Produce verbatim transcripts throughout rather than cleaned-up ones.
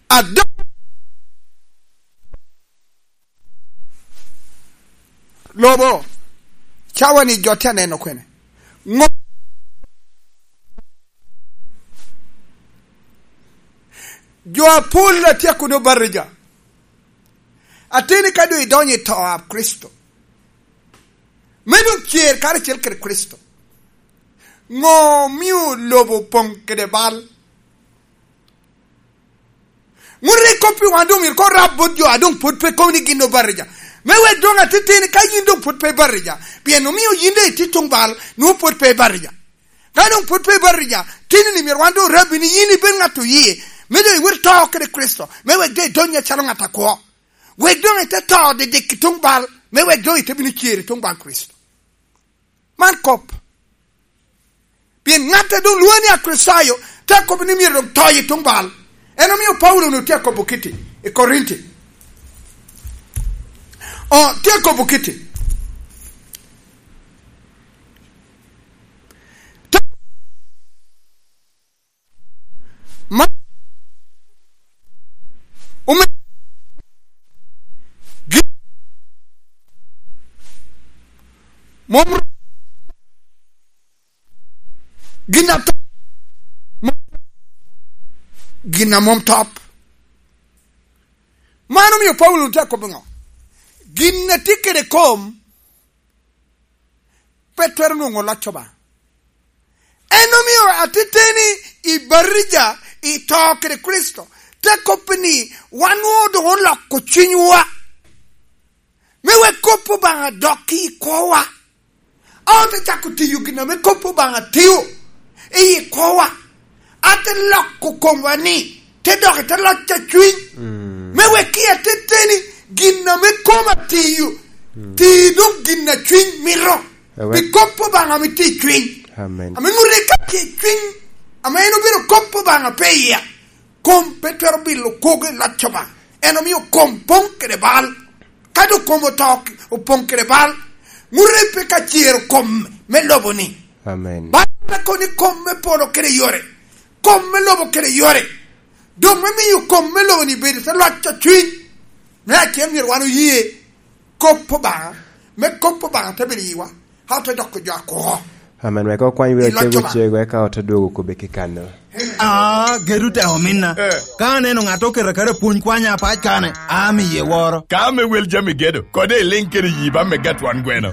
Adok lobo, cawa-ni jo tye aneno kwene? Ŋo-, jo apol a tye kuno Obatija. Ateni ka doŋ idonyo i to a Kricito, me doŋ cer karacel kede Kricito, ŋo omio lobo opoŋ kede bal? Ŋut rik kop i wan doŋ myero koŋ rab bot jo a doŋ pwod pe kobo ni gin Obatija. Me wek doŋ ateteni ka yin doŋ pwod pe Obatija, pien omio yin doŋ itye tuŋ bal, nwoŋo pwod pe Obatija. Ka doŋ pwod pe Obatija, tini-ni myero wan doŋ orabbi ni yin ibed ŋat oye, me doŋ iwot to kede Kricito, me wek doŋ idony acalo ŋat akwo. Wek doŋ ite to didik i tuŋ bal, me wek doŋ ite bino cer i tuŋ bal Kricito. Man kop. Pien ŋat a doŋ lwoŋe ni Akricitayo te kobo ni myero doŋ to i tuŋ bal. En omio Paulo onwoŋo tye akobo kiti i Korinti. O, tye akobo kiti. Ma-, ome-, gi-, mom ro-, gin a to-, mo-, gin a mom top. Man omio Paulo tye akobo ŋo? Gin a tye kede kom pe twero nwoŋo loc Obaŋa. En omio ateteni i Obatija, i to kede Kricito, te kobbi ni wan nwoŋo doŋ oloko cunywa, me wek kop Obaŋa dok i kwowa. Ote cako tiyo gin ame kop Obaŋa tio i kwowa. Ate loko komwa ni, te dok i te loc a cwiny. Mm. Me wek i ateteni, gin ame kom atiyo, mm, ti doŋ gin a cwiny mito. Ewe. Pi kop Obaŋa ame tye i cwiny. Amen. Ame ŋuti ka tye i cwiny, ame en obedo kop Obaŋa pe iya, kom pe twero bilo kwogo i loc Obaŋa. En omio kom poŋ kede bal. Ka doŋ kom oto, opoŋ kede bal, ŋuti pe ka cero kom me lobo-ni. Amen. Bal me kono ni kom me polo kede yore, kom me lobo kede yore, doŋ me miyo kom me lobo-ni bedo te loc a cwiny. Me acel myero wan oye kop Obaŋa, me kop Obaŋa te bedo iwa, a ote doko jo akwo. Amen. Wek okwany wi ocego cego, eka ote dwogo kobbe ki kanno. Ah, gedo te ominna. Eh. Ka aneno ŋat oketo aketa pwony kwanya apac kane, amiye woro. Ka ame wel jami gedo, kode iliŋ kede yi ba me gatwan gweno.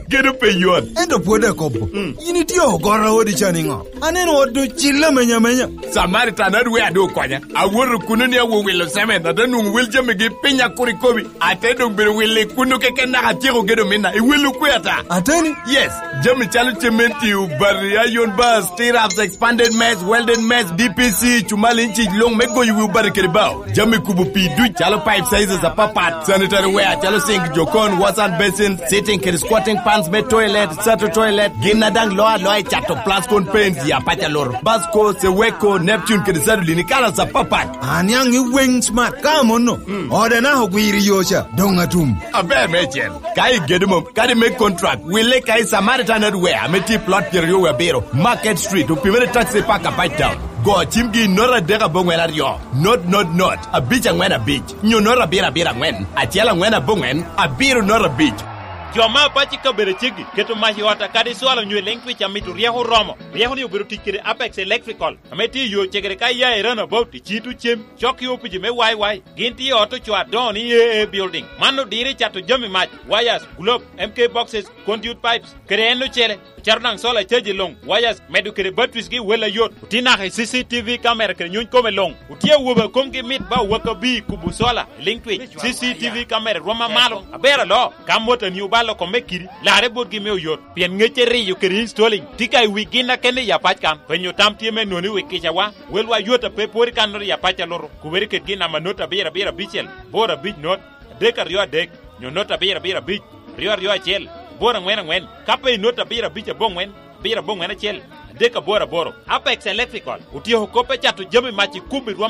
Gedo pe yot. Ento pwod akobo. Mm. Yin itye ogoro odi ca niŋo? Aneno ot ocille amenya amenya. Samaritan adwe adu okonya. Awoto kuno ni awo wilo cement, ate nwoŋo wel jamigi piny akur ikobi. Ate doŋ bedo wilo i kuno keken naka atyeko gedo minna. I welo kwe ata. Ateni? Yes. Jami calo cementi, obati, iron bars, T-raps, expanded mess, welded mess, D P C, cumali inchic luŋ me goyo wi obati kede bao. Jami kubo pii duc calo pipe sizes apapat, sanitary ware calo sink, jokon, wash and basin, sitting kede squatting pans me toilet, sato toilet, gin a daŋ loo aloa i cato Plascon paints i apac aloro, Basco, Seweko, Neptune kede Sadolin i kalas apapat. Aniaŋ i Wing Smart ka amono, mm, ode naka ogwiro i yo ca, doŋ atum. Aber meicel, ka igedo mom, kadi me contract, wille ka i Samaritan Hardware ame tye i plot pyeraryo wie abiro, Market Street, opimere taxi park apac town. Go cimgi i note adek aboŋwen aryo, note, note, note, abic aŋwen abic, nyo note abiro abiro aŋwen, acel aŋwen aboŋwen, abiro note abic. Jo me apac i kabedo aceggi keto mac i ot akadi cwalo nyo i liŋ twic amito ryeko oromo. Ryeko-ni obedo tic kede Apex Electrical, ame tye i yo cegere ka iya i Roundabout i Cito Cem, cok i opici me Y Y. Gin tye i ot ocoo adoŋo ni A A Building. Man odiro i cato jami mac, wires, globe, M K boxes, conduit pipes, kede en ocele. Ocato daŋ solar caji luŋ, wires, medo kede batteries gi wel ayot. Otye naka i C C T V camera kede nyuny kome luŋ. Otye awobe a komgi mit ba owak abir kubo solar, liŋ twic, C C T V camera rwom amalo. Aber alo, ka mot a ni obalo kome kidi, larre botgi me oyot. Pien ŋecce riyo kede installing tye ka i wi gin a kene i apac kan. Penyo tam tye me noni wi kicawa, welwa yot a pe pwod i kannoro i apac a luto, kubere kede gin namba not abiro abiro abicel, bor abic not, adek aryo adek, nyo not abiro abiro abic, aryo aryo acel, bor aŋwen aŋwen, ka pe i not abiro abic aboŋwen, abiro aboŋwen acel, adek aboro aboro. Apex Electrical otyeko kop me cato jami mac i kum i rwom